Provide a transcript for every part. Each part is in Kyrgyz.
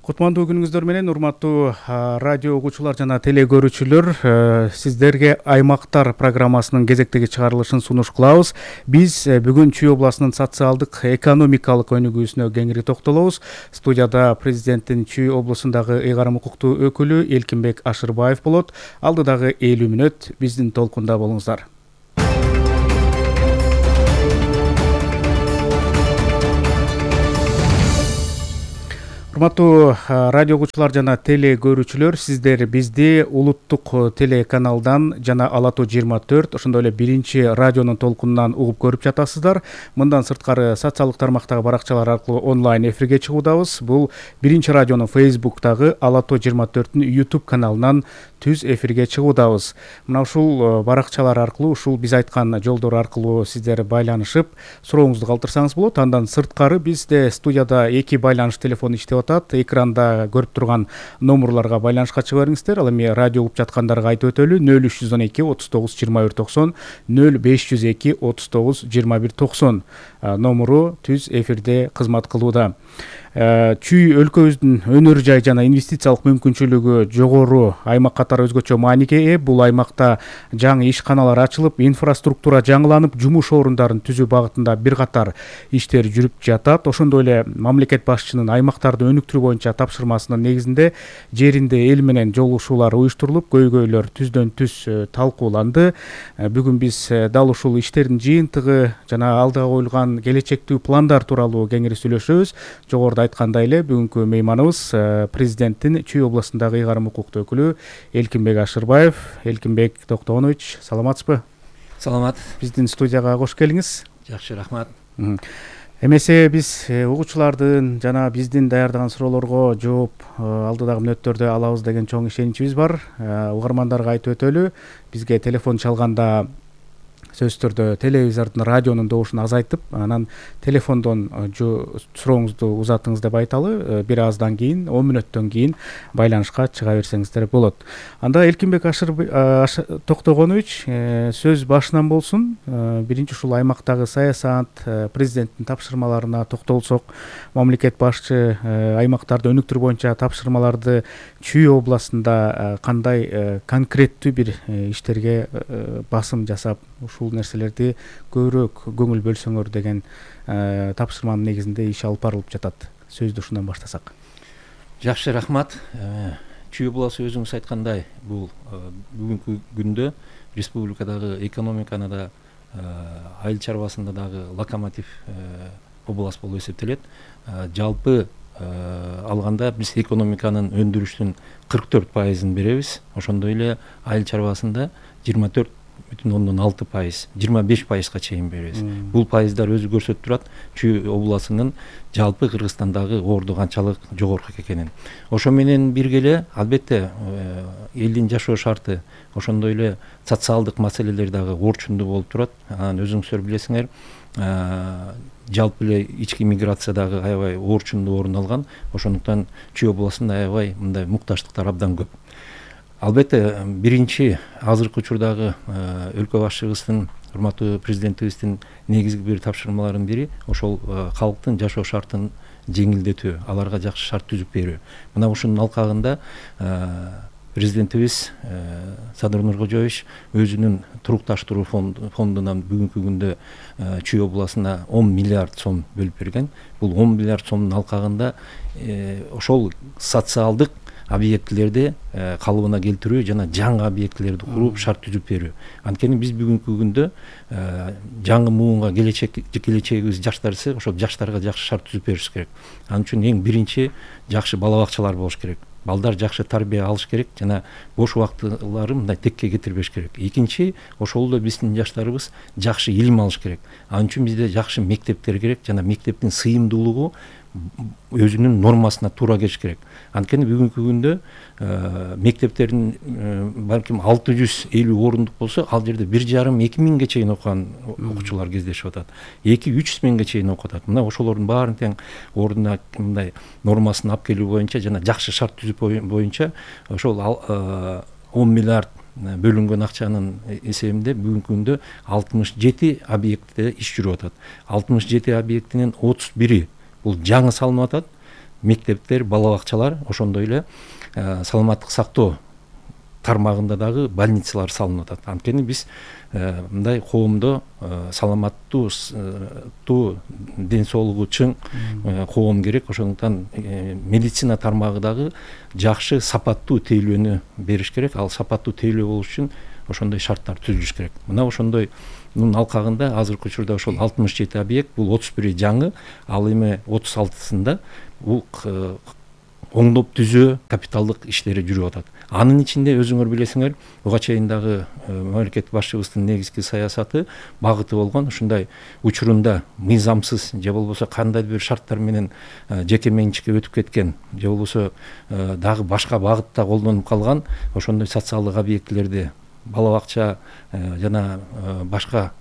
Кутмандуу күнүңүздөр менен урматтуу радио угуучулар жана теле көрүүчүлөр, сиздерге Аймактар программасынын кезектеги чыгарылышын сунуш кылабыз. Биз бүгүн Чүй областынын социалдык экономикалык өнүгүүсүнө кеңири токтолобуз. Студияда президенттин Чүй облусундагы ыйгарым укуктуу өкүлү Элкинбек Ашырбаев болот. Алдыдагы 50 мүнөт биздин толкунда болуңуздар. Урматтуу радио угуучулар жана теле көрүүчүлөр, сиздер бизди улуттук телеканалдан жана Ала Тоо 24, ошондой эле биринчи радионун толкунунан угуп көрүп жатасыздар. Мындан сырткары социалдык тармактагы баракчалар аркылуу онлайн эфирге чыгуудабыз. Бул биринчи радионун Facebook'тагы Ала Тоо 24-түн YouTube каналынан түз эфирге чыгуудабыз. Мына ушул баракчалар аркылуу, ушул биз айткан жолдор аркылуу сиздер байланышып, сурооңузду калтырсаңыз болот. Андан сырткары бизде студияда 2 байланыш телефону иштеп атат. Экранда көрүп турган номерларга байланышка чыга бериңиздер. Ал эми радио угуп жаткандарга айтып өтөлү: 0312 39 21 90, 0502 39 21 90 номеру түз эфирде кызмат кылууда. Чүй өлкөбүздүн өнөр жай жана инвестициялык мүмкүнчүлүгү жогору аймак катары өзгөчө мааниге ээ. Бул аймакта жаңы ишканалар ачылып, инфраструктура жаңыланып, жумуш орундарын түзүү багытында бир катар иштер жүрүп жатат. Ошондой эле мамлекет башчынын аймактарды өнүктүрүү боюнча тапшырмасынын негизинде жеринде эл менен жолугушуулар уюштурулуп, көйгөйлөр түздөн түз талкууланды. Бүгүн биз дал ушул иштердин жыйынтыгы жана алдыга коюлган келечектүү пландар тууралуу кеңири сүйлөшөбүз. Жогоруда айткандай эле, бүгүнкү мейманыбыз президенттин Чүй областындагы ыйгарым укуктуу өкүлү Элкинбек Ашырбаев. Элкинбек Токтогонович, саламатсызбы? Саламат. Биздин студияга кош келиңиз. Жакшы, рахмат. Эмесе биз угуучулардын жана биздин даярдаган суроолорго жооп алдыдагы мүнөттөрдө алабыз деген чоң ишеничибиз бар. Угармандарга айтып өтөлү, бизге телефон чалганда сөзсүз түрдө телевизордун, радионун добушун азайтып, анан телефондон сурооңузду узатыңыз деп айталы. Бир аздан кийин, 10 мүнөттөн кийин байланышка чыга берсеңиздер болот. Анда Элкинбек Токтогонович, сөз башынан болсун. Биринчи ушул аймактагы саясат, президенттин тапшырмаларына токтолсок, мамлекет башчы аймактарды өнүктүрүү боюнча тапшырмаларды Чүй областында кандай конкреттүү бир иштерге басым жасап, ушул нерселерди көбүрөөк көңүл бөлсөңөр деген тапшырманын негизинде иш алып барылып жатат. Сөздү ушундан баштасак. Жакшы, рахмат. Чүй областы өзүңүз айткандай, бул бүгүнкү күндө республикадагы экономиканы да, айыл чарбасында дагы локомотив область болуп эсептелет. Жалпы алганда биз экономиканын өндүрүштүн 44% беребиз. Ошондой эле айыл чарбасында 24,6%, 25%га чейин беребиз. Бул пайыздар өзү көрсөтүп турат Чүй областынын жалпы Кыргызстандагы орду канчалык жогорку экенин. Ошо менен бирге эле албетте элдин жашоо шарты, ошондой эле социалдык маселелер дагы орчундуу болуп турат. Анан өзүңүздөр билесиңер, жалпы эле ички миграция дагы аябай орчундуу орун алган. Ошондуктан Чүй областында аябай мындай муктаждыктар абдан көп. Албетте, биринчи азыркы учурдагы өлкө башчыбыздын, урматтуу президентибиздин негизги бир тапшырмаларынын бири ошол калктын жашоо шартын жеңилдетүү, аларга жакшы шарт түзүп берүү. Мына ушунун алкагында президентибиз Садыр Нуркожоевич өзүнүн турукташтыруу фондунан бүгүнкү күндө Чүй областына 10 миллиард сом бөлүп берген. Бул 10 миллиард сомдун алкагында ошол социалдык объектилерди калыбына келтирүү жана жаңы объектилерди куруп шарт түзүп берүү. Анткени биз бүгүнкү күндө жаңы муунга келечегибиз жаштар, ошол жаштарга жакшы шарт түзүп бериш керек. Ал үчүн эң биринчи жакшы бала бакчалар болуш керек. Балдар жакшы тарбия алыш керек жана бош убактыларын мындай текке кетирбеш керек. Экинчи, ошол эле биздин жаштарыбыз жакшы илим алыш керек. Ал үчүн бизде жакшы мектептер керек жана мектептин сыйымдуулугу өзүнүн нормасына туура келиш керек. Анткени бүгүнкү күндө мектептердин балким 650 орундук болсо, ал жерде 1,5-2 миңге чейин окуган окуучулар кездешип атат. 2-3 миңге чейин окутат. Мына ошолордун баарын тең ордуна мындай нормасын алып келүү боюнча жана жакшы шарт түзүп боюнча ошол 10 миллиард бөлүнгөн акчанын эсебинде бүгүнкү күндө 67 объектте иш жүрүп атат. 67 объектинин 31 бул жаңы салынып атат. мектептер, бала бакчалар, ошондой эле саламаттык сактоо тармагында дагы больницалар салынып атат. Анткени биз мындай коомдо саламаттуу ден соолугу чың коом керек. Ошондуктан медицина тармагы дагы жакшы сапаттуу тейлөөнү бериш керек. Ал сапаттуу тейлөө болуш үчүн ошондой шарттар түзүлүш керек. Мына ошондой алкагында азыркы учурда ошол 67 объект, бул 31 жаңы, ал эми 36-сында бул оңдоп түзөө капиталдык иштери жүрүп атат. Анын ичинде өзүңөр билесиңер, буга чейин дагы мамлекет башчыбыздын негизги саясаты багыты болгон ушундай учурунда мыйзамсыз же болбосо кандайдыр бир шарттар менен жеке менчикке өтүп кеткен же болбосо дагы башка багытта колдонуп калган ошондой социалдык объектилерди, бала бакча жана башка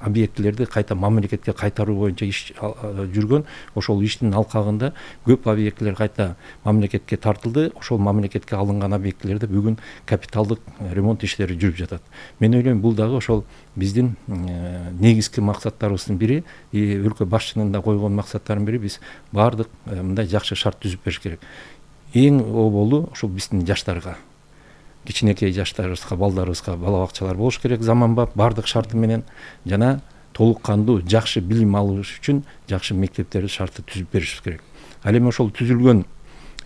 объектилерди кайта мамлекетке кайтаруу боюнча иш жүргөн. Ошол иштин алкагында көп объектилер кайта мамлекетке тартылды. Ошол мамлекетке алынган объектилерде бүгүн капиталдык ремонт иштери жүрүп жатат. Мен ойлойм, бул дагы ошол биздин негизги максаттарыбыздын бири, өлкө башчынын да койгон максаттарынын бири. Биз баардык мындай жакшы шарт түзүп бериш керек. Эң оболу ошол биздин жаштарга, кичинекей жаштарыбызга, балдарыбызга бала бакчалар болуш керек заманбап, баардык шарты менен, жана толук кандуу жакшы билим алыш үчүн жакшы мектептерди шарты түзүп бериш керек. Ал эми ошол түзүлгөн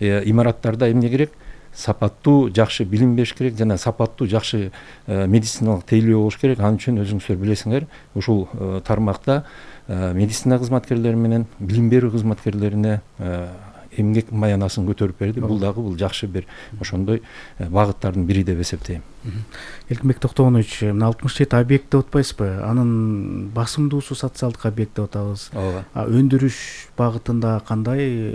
имараттарда эмне керек? Сапаттуу жакшы билим бериш керек жана сапаттуу жакшы медициналык тейлөө болуш керек. Ал үчүн өзүңүздөр билесиңер, ушул тармакта медицина кызматкерлери менен билим берүү кызматкерлерине эмгек маянасын көтөрүп берди. Бул дагы жакшы бир ошондой багыттардын бири деп эсептейм. Элкинбек Токтогонович, мына 67 объект деп атпайсызбы? Анын басымдуусу социалдык объект деп атабыз. Өндүрүш багытында кандай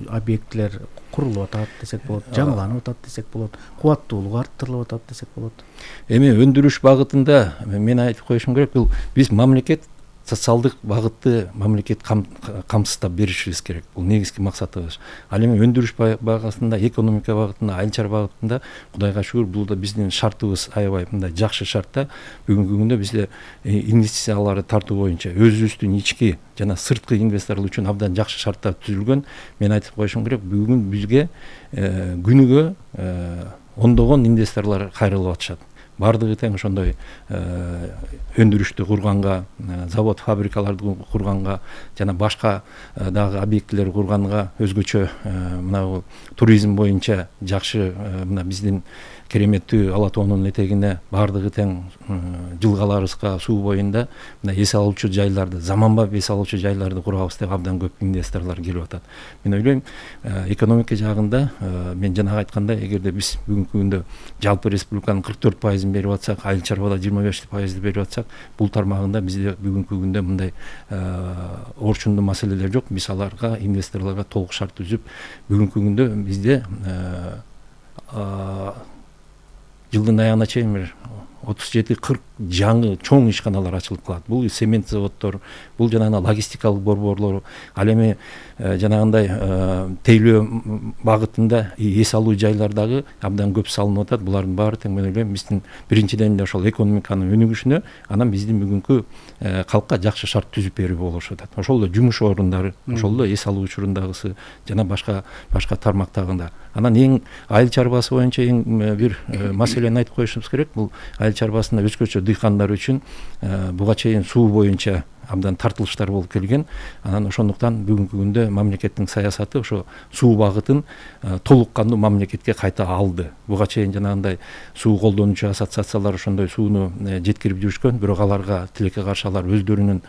объектилер курулуп атат десек болот, жаңыланып атат десек болот, кубаттуулугу арттырылып атат десек болот. Эми өндүрүш багытында мен айтып коюшум керек, бул биз мамлекет социалдык багытты мамлекет камсыздап беришибиз керек. Бул негизги максатыбыз. Ал эми өндүрүш багытында, экономика багытында, айыл чар багытында Кудайга шүгүр, бул да биздин шартыбыз аябай мындай жакшы шартта. Бүгүнкү күндө бизде инвестицияларды тартуу боюнча өзүбүздүн ички жана сырткы инвесторлор үчүн абдан жакшы шарттар түзүлгөн. Мен айтып коюшум керек, бүгүн бизге күнүгө ондогон инвесторлор кайрылып атышат. Бардыгы тең ошондой өндүрүштү курганга, завод, фабрикаларды курганга жана башка дагы объектилер курганга, өзгөчө мына туризм боюнча жакшы мына биздин кереметтүү Ала тоонун этегине бардыгы тең жылгаларыбызга, суу боюнда мына эс алуучу жайларды, заманбап эс алуучу жайларды курабыз деп абдан көп инвесторлор келип атат. Мен ойлойм, экономика жагында мен жанагы айткандай, эгерде биз бүгүнкү күндө жалпы республиканын 44% берип атсак, айыл чарбада 25% берип атсак, бул тармагында бизде бүгүнкү күндө мындай орчундуу маселелер жок. Биз аларга, инвесторлорго толук шарт түзүп, бүгүнкү күндө бизде жылдын аягына чейин бир 37-40 жаңы чоң ишканалар ачылып калат. Бул цемент заводдор, бул жанагы логистикалык борборлор, ал эми жанагындай тейлөө багытында эс алуу жайлардагы абдан көп салынып атат. Булардын баары тең мен ойлойм, биздин биринчиден эле ошол экономиканын өнүгүшүнө, анан биздин бүгүнкү калкка жакшы шарт түзүп берүү болуш атат. Ошол эле жумуш орундары, ошол эле эс алуу учурундагысы жана башка тармактагында. Анан эң айыл чарбасы боюнча эң бир маселени айтып коюшубуз керек. Бул айыл чарбасында өзгөчө дыйкандар үчүн буга чейин суу боюнча абдан тартылыштар болуп келген. Анан ошондуктан бүгүнкү күндө мамлекеттин саясаты ошо суу багытын толук кандуу мамлекетке кайта алды. Буга чейин жанагындай суу колдонуучу ассоциациялар ошондой сууну жеткирип жүрүшкөн, бирок аларга тилекке каршы алар өздөрүнүн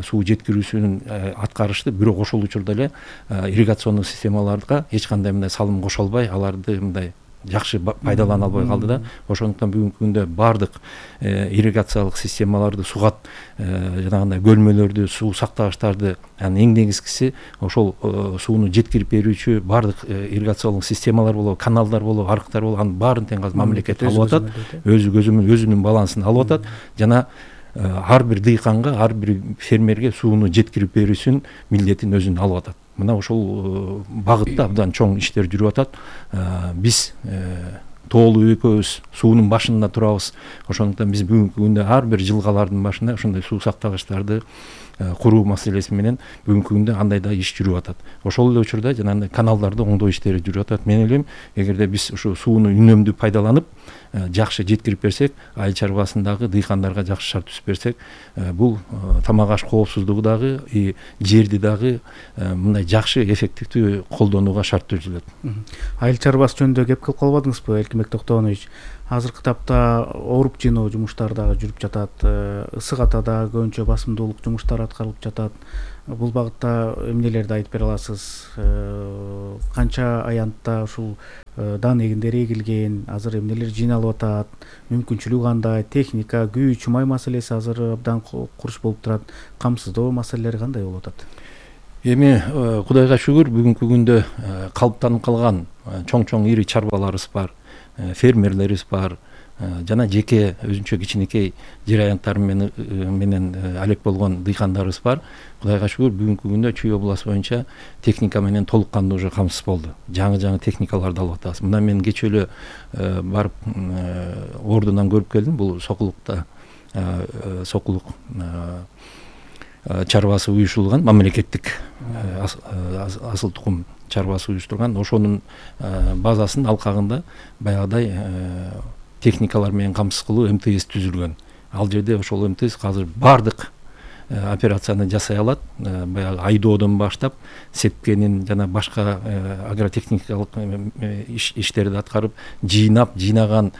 суу жеткирүүсүн аткарышты, бирок ошол учурда эле ирригациондук системаларга эч кандай мындай салым кошо албай, аларды мындай жакшы пайдалана албай калды да. Ошондуктан бүгүнкү күндө бардык ирригациялык системаларды сугат, жанагындай көлмөлөрдү, суу сактагычтарды, анын эң негизгиси ошол сууну жеткирип берүүчү бардык ирригациялык системалар болобу, каналдар болобу, арыктар болобу, анын баарын тең азыр мамлекет алып атат, өзүнүн балансын алып атат жана ар бир дыйканга, ар бир фермерге сууну жеткирип берүүсүн милдетин өзүнө алып атат. Мына ошол багытта абдан чоң иштер жүрүп атат. Биз тоолуу экөөбүз суунун башында турабыз. Ошондуктан биз бүгүнкү күндө ар бир жылгалардын башында ошондой суу сактагычтарды, куруу маселеси менен бүгүнкү күндө андай да иш жүрүп атат. Ошол эле учурда жанагындай каналдарды оңдоо иштери жүрүп атат. Мен ойлойм, эгерде биз ушу сууну үнөмдүү пайдаланып жакшы жеткирип берсек, айыл чарбасындагы дыйкандарга жакшы шарт түзүп берсек, бул тамак аш коопсуздугу дагы, жерди дагы мындай жакшы эффективдүү колдонууга шарт түзүлөт. Айыл чарбасы жөнүндө кеп кылып калбадыңызбы, Эркинбек Токтоонович? Азыркы тапта оруп жиноо жумуштары дагы жүрүп жатат. Ысык атада көбүнчө басымдуулук жумуштары аткарылып жатат. Бул багытта эмнелерди айтып бере аласыз? Канча аянтта ушул дан эгиндер эгилген, азыр эмнелер жиналып атат, мүмкүнчүлүгү кандай, техника, күч, май маселеси азыр абдан курч болуп турат, камсыздоо маселелери кандай болуп атат? Эми Кудайга шүгүр, бүгүнкү күндө калыптанып калган чоң ири чарбаларыбыз бар, фермерлерибиз бар, жана жеке өзүнчө кичинекей жер аянттары менен алек болгон дыйкандарыбыз бар. Кудайга шүгүр, бүгүнкү күндө Чүй областы боюнча техника менен толук кандуу уже камсыз болду. Жаңы техникаларды алып атабыз. Мына мен кечээ эле барып ордунан көрүп келдим. Бул Сокулукта Сокулук чарбасы уюштурулган, мамлекеттик асыл тукум чарбасы уюштурган. Ошонун базасынын алкагында баягыдай техникалар менен камсыз кылуу МТС түзүлгөн. Ал жерде ошол МТС азыр бардык операцияны жасай алат. Баягы айдоодон баштап сепкенин жана башка агротехникалык иштерди аткарып, жыйнаган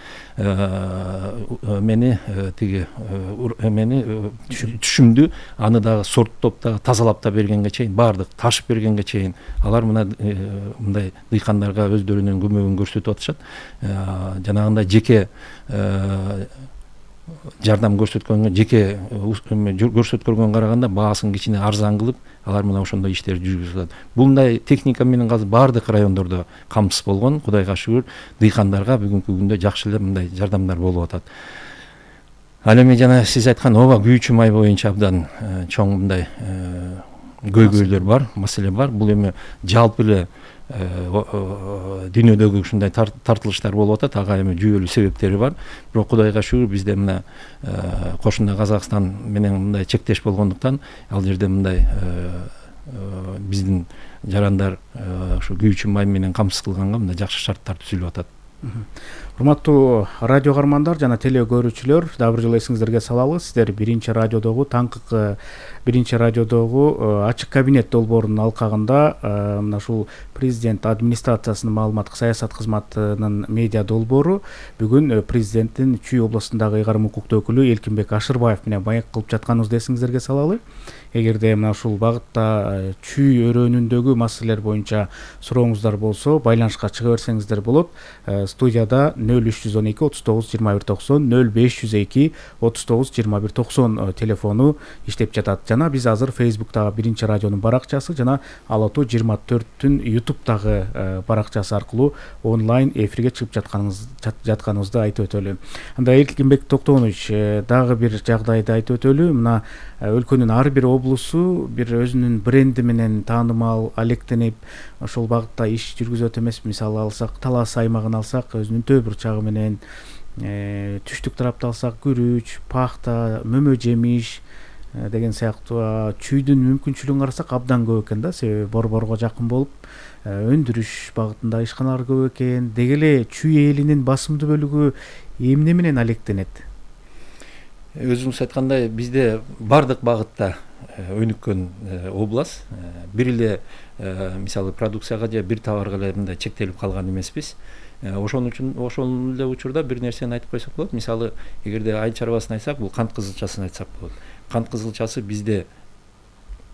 түшүмдү аны дагы сорттоп да тазалап да бергенге чейин, бардык ташып бергенге чейин алар мындай дыйкандарга өздөрүнүн көмөгүн көрсөтүп атышат. Жанагындай жеке жардам көрсөткөнгө, жеке көрсөткөнгө караганда баасын кичине арзан кылып, алар мына ошондой иштерди жүргүзүп атат. Мындай техника менен азыр бардык райондордо камсыз болгон. Кудайга шүгүр, дыйкандарга бүгүнкү күндө жакшы эле мындай жардамдар болуп атат. Ал эми жана сиз айткан ооба, күйүүчү май боюнча абдан чоң мындай көйгөйлөр бар, маселе бар. Бул эми жалпы эле дүйнөдөгү ушундай тартылыштар болуп атат. Ага эми жүйөлүү себептери бар. Бирок Кудайга шүгүр, бизде мына кошуна Казакстан менен мындай чектеш болгондуктан ал жерде мындай биздин жарандар ушу күйүүчү май менен камсыз кылганга мындай жакшы шарттар түзүлүп атат. Урматтуу радио каармандар жана теле көрүүчүлөр, дагы бир жолу эсиңиздерге салалы, сиздер биринчи радиодогу ачык кабинет долбоорунун алкагында мына ушул президент администрациясынын маалыматтык саясат кызматынын медиа долбоору бүгүн президенттин Чүй областындагы ыйгарым укуктуу өкүлү Эркинбек Ашырбаев менен маек кылып жатканыбызды эсиңиздерге салалы. Эгерде мына ушул багытта чүй өрөөнүндөгү маселелер боюнча сурооңуздар болсо, байланышка чыга берсеңиздер болот. Студияда 0312 39 21 90, 0502 39 21 90 телефону иштеп жатат. Жана биз азыр Facebook'тагы биринчи радионун баракчасы жана Ала Тоо 24-түн YouTube'дагы баракчасы аркылуу онлайн эфирге чыгып жатканыбызды айтып өтөлү. Анда Эркинбек Токтоонович, дагы бир жагдайды айтып өтөлү. Мына өлкөнүн ар бир облусу бир өзүнүн бренди менен таанымал, алектенип ошол багытта иш жүргүзөт эмеспи? Мисалы алсак, Талас аймагын алсак, өзүнүн төө бурчагы менен, түштүк тарапты алсак, күрүч, пахта, мөмө жемиш деген сыяктуу. Чүйдүн мүмкүнчүлүгүн карасак абдан көп экен да, себеби борборго жакын болуп, өндүрүш багытында ишканалар көп экен. Деги эле чүй элинин басымдуу бөлүгү эмне менен алектенет? Өзүңүз айткандай, бизде бардык багытта өнүккөн область. Бир эле мисалы продукцияга же бир товарга эле мындай чектелип калган эмеспиз. Ошол эле учурда бир нерсени айтып койсок болот. Мисалы, эгерде айыл чарбасын айтсак, бул кант кызылчасын айтсак болот. Кант кызылчасы бизде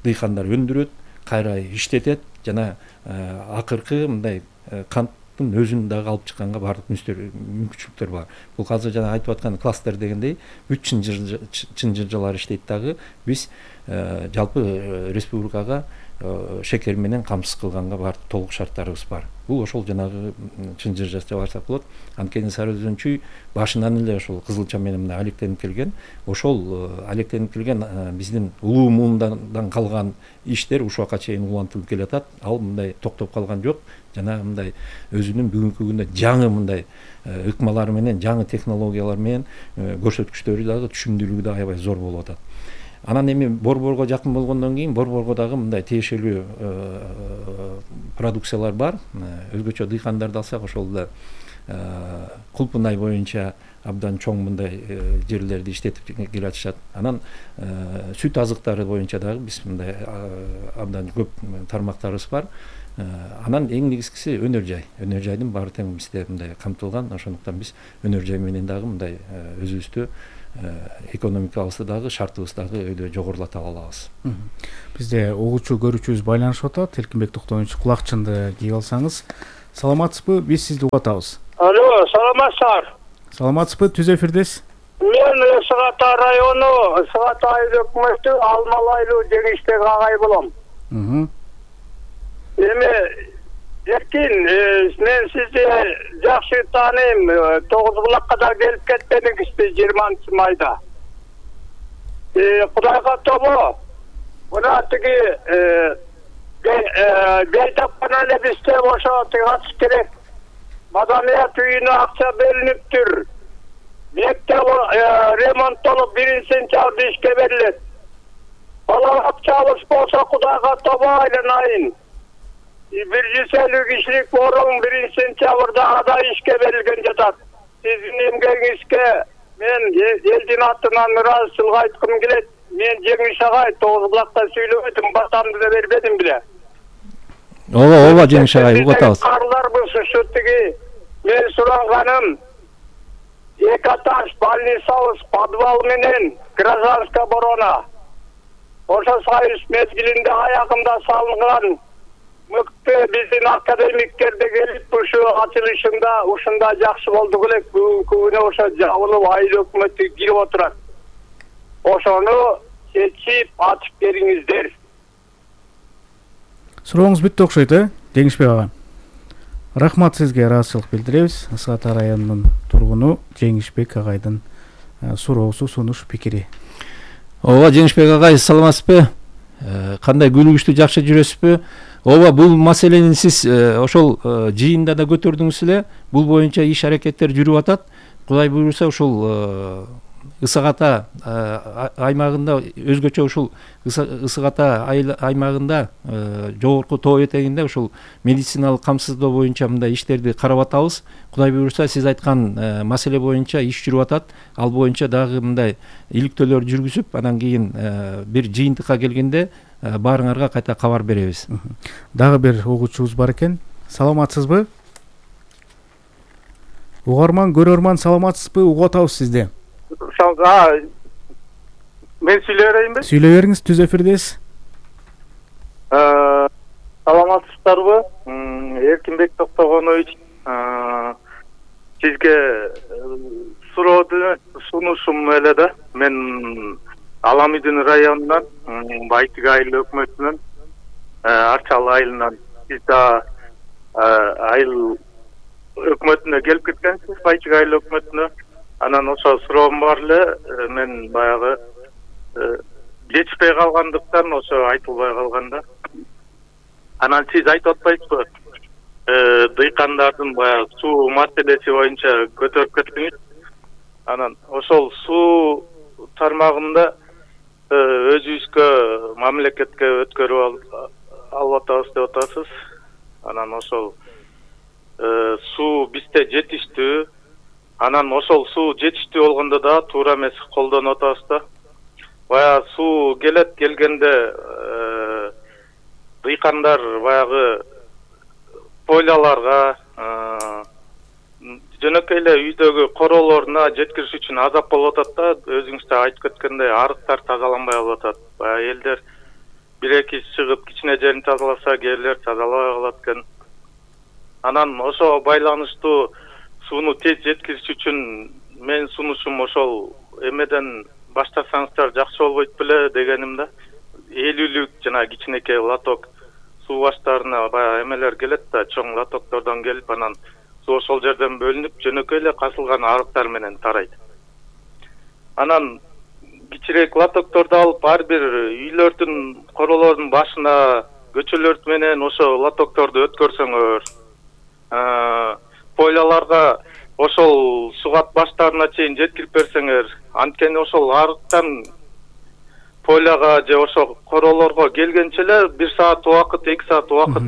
дыйкандар өндүрөт, кайра иштетет жана акыркы мындай канттын өзүн дагы алып чыкканга бардык мүмкүнчүлүктөр бар. Бул азыр жана айтып аткан кластер дегендей 3 чынжыржалар иштейт дагы. Биз жалпы республикага шекер менен камсыз кылганга бардык толук шарттарыбыз бар. Бул ошол жанагы чынжыржача барсак болот. Анткени Сары Өзөн чүй башынан эле ошол кызылча менен алектенип келген. Ошол алектенип келген биздин улуу муундан калган иштер ушуга чейин улантылып келатат. Ал мындай токтоп калган жок. Жана мындай өзүнүн бүгүнкү күндө жаңы мындай ыкмалары менен, жаңы технологиялар менен көрсөткүчтөрү дагы, түшүмдүүлүгү да аябай зор болуп атат. Анан эми Борборго жакын болгондон кийин Борборго дагы мындай тиешелүү продукциялар бар. Өзгөчө дыйкандарды алсак, ошол да Кулпунай боюнча абдан чоң мындай жерлерди иштетип келатышат. Анан сүт азыктары боюнча дагы биз мындай абдан көп тармактарыбыз бар. Анан эң негизгиси өнөр жай. Өнөр жайдын баары тең бизде мындай камтылган. Ошондуктан биз өнөр жай менен дагы мындай өзүбүздү экономикабызды дагы, шартыбызды дагы өйдө жогорулата алабыз. Бизде угуучу көрүүчүбүз байланышып атат. Эркинбек Токтонович, кулакчынды кийип алсаңыз. Саламатсызбы? Биз сизди угуп атабыз. Алло, саламатсыздар. Саламатсызбы? Түз эфирдесиз. Мен Ысык Ата району, Ысык Ата айыл өкмөтү Алмалы айылы Жеңишбек агай болом. Эми эркин, мен сизди жакшы тааныйм. Тогузбулакка да келип кеттиңизди 20-майда. Кудайга тобо. Мына тиги бейтапкан эле бизде ошо тыгат керек. Маданият үйүнө акча берилиптир. Мектеп ремонттолуп 1-сентябрда ишке берилет. Бала акчабыз болсо Кудайга тобо айланайын. 150 кишилик орун 1-сентябрда ада ишке берилген жатат. Сиздин эмгегиңизге мен элдин атынан ыраазычылык айткым келет. Мен Жеңиш агай Тогузбулакта сүйлөбөдүм, батамды да бербедим беле. Ооба Жеңиш агай, угуп атабыз. Карларбыз ушу тиги мен суранганым Экаташ больницабыз подвал менен Гражданская оборона. Ошо союз мезгилинде аягында салынган мыкты биздин академиктерде келип ушу ачылышында ушунда жакшы болду элек. Бүгүнкү күнү ошо жабылып айыл өкмөтү кирип отурат. Ошону чечип ачып бериңиздер. Сурооңуз бүттү окшойт, Жеңишбек ага. Рахмат сизге, ыраазычылык билдиребиз. Ысык Ата районунун тургуну Жеңишбек агайдын суроосу, сунуш, пикири. Ооба Жеңишбек агай, саламатсызбы? Кандай күнүгүчтүү, жакшы жүрөсүзбү? Ооба, бул маселени сиз ошол жыйында да көтөрдүңүз эле. Бул боюнча иш аракеттер жүрүп атат. Кудай буйруса ушул Ысык Ата аймагында, өзгөчө ушул Ысык Ата аймагында жогорку тоо этегинде ушул медициналык камсыздоо боюнча мындай иштерди карап атабыз. Кудай буйруса сиз айткан маселе боюнча иш жүрүп атат. Ал боюнча дагы мындай иликтөөлөр жүргүзүп, анан кийин бир жыйынтыкка келгенде баарыңарга кайта кабар беребиз. Дагы бир угуучубуз бар экен. Саламатсызбы? Угарман, көрөрман, саламатсызбы? Угуп атабыз сизди. Мен сүйлөй берейинби? Сүйлөй бериңиз, түз эфирдесиз. Саламатсыздарбы? Эркинбек Токтогонович, сизге суроону сунушум эле да. Мен Аламидин районунан, Байтык айыл өкмөтүнөн, Арчалы айылынан, сиз да айыл өкмөтүнө келип кеткенсиз, Байтык айыл өкмөтүнө. Анан ошо суроом бар эле, мен баягы жетишпей калгандыктан ошо айтылбай калганда. Анан сиз айтып атпайсызбы? Дыйкандардын баягы суу маселеси боюнча көтөрүп кеттиңиз. Анан ошол суу тармагында өзүбүзгө мамлекетке өткөрүп алып атабыз деп атасыз. Анан ошол суу бизде жетиштүү. Анан ошол суу жетиштүү болгондо да туура эмес колдонуп атабыз да. Баягы суу келгенде дыйкандар баягы пойлаларга, жөнөкөй эле үйдөгү короолоруна жеткириш үчүн азап болуп атат да. Өзүңүз да айтып кеткендей, арыктар тазаланбай калып атат. Баягы элдер бир-эки чыгып кичине жерин тазаласа, кээрлер тазалабай калат экен. Анан ошо байланыштуу сууну тез жеткириш үчүн мен сунушум ошол эмеден баштасаңыздар жакшы болбойт беле дегеним да. 50-лүк жана кичинекей лоток суу баштарына баягы эмелер келет да, чоң лотоктордон келип, анан суу ошол жерден бөлүнүп, жөнөкөй эле казылган арыктар менен тарайт. Анан кичирээк лотокторду алып, ар бир үйлөрдүн короолордун башына көчөлөр менен ошо лотокторду өткөрсөңөр, пойлаларга ошол сугат баштарына чейин жеткирип берсеңер, анткени ошол арыктан поляга же ошо королорго келгенче эле 1 саат убакыт, 2 саат убакыт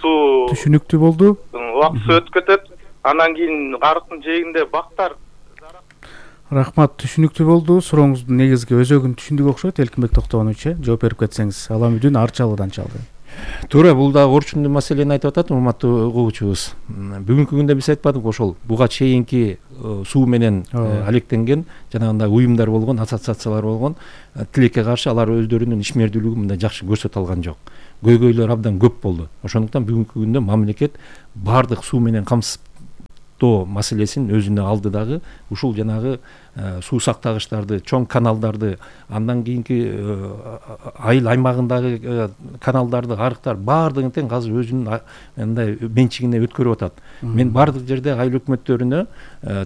суу түшүнүктүү болду. убакыт өтүп кетет. Анан кийин арыктын жээгинде бактар. Рахмат, түшүнүктүү болду. Сурооңуздун негизги өзөгүн түшүндүк окшойт. Элкинбек Токтогонович, жооп берип кетсеңиз. Аламүдүн Арчалыдан чалды. Туура, бул да орчундуу маселени айтып атат урматтуу угуучубуз. Бүгүнкү күндө биз айтпадыкпы ошол буга чейинки суу менен алектенген жанагындай уюмдар болгон, ассоциациялар болгон, тилекке каршы алар өздөрүнүн ишмердүүлүгүн мындай жакшы көрсөтө алган жок. Көйгөйлөр абдан көп болду. Ошондуктан бүгүнкү күндө мамлекет баардык суу менен камсыздоо маселесин өзүнө алды дагы. Ушул жанагы суу сактагычтарды, чоң каналдарды, андан кийинки айыл аймагындагы каналдарды, арыктар баардыгын тең азыр өзүнүн мындай менчигине өткөрүп атат. Мен баардык жерде айыл өкмөттөрүнө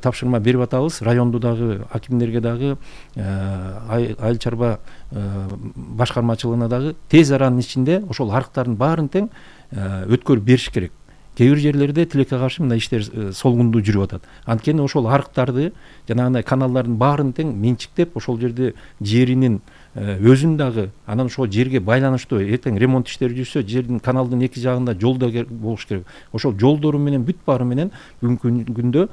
тапшырма берип атабыз. Райондо дагы, акимдерге дагы, айыл чарба башкармачылыгына дагы тез аранын ичинде ошол арыктардын баарын тең өткөрүп бериш керек. Кээ бир жерлерде тилекке каршы мындай иштер солгундуу жүрүп атат. Анткени ошол арыктарды, жанагындай каналдардын баарын тең менчиктеп, ошол жерде жеринин өзүн дагы, анан ошол жерге байланыштуу эртең ремонт иштери жүрсө, жердин каналдын эки жагында жол да болуш керек. Ошол жолдору менен бүт баары менен бүгүнкү күндө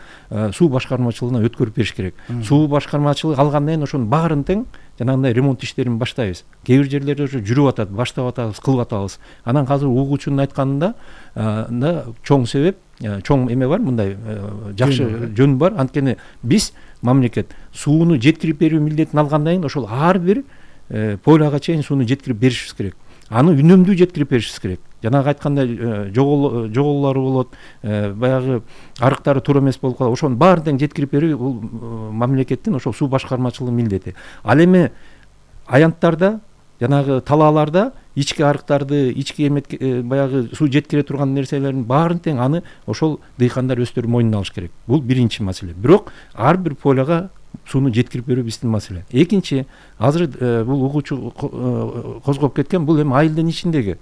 суу башкармачылыгына өткөрүп бериш керек. Суу башкармачылыгы алгандан кийин ошонун баарын тең жанагындай ремонт иштерин баштайбыз. Кээ бир жерлерде уже жүрүп атат, баштап атабыз, кылып атабыз. Анан азыр угуучунун айтканында чоң себеп, чоң эме бар, мындай жакшы жөн бар. Анткени биз мамлекет сууну жеткирип берүү милдетин алгандан кийин ошол ар бир поляга чейин сууну жеткирип беришибиз керек. Аны үнөмдүү жеткирип беришибиз керек. Жанагы айткандай жоголуулары болот, баягы арыктары туура эмес болуп калат. Ошонун баарын тең жеткирип берүү бул мамлекеттин ошол суу башкармачылыгынын милдети. Ал эми аянттарда, жанагы талааларда ички арыктарды, ички баягы суу жеткире турган нерселердин баарын тең аны ошол дыйкандар өздөрү мойнуна алыш керек. Бул биринчи маселе. Бирок ар бир поляга сууну жеткирип берүү биздин маселе. Экинчи, азыр бул угуучу козгоп кеткен, бул эми айылдын ичиндеги.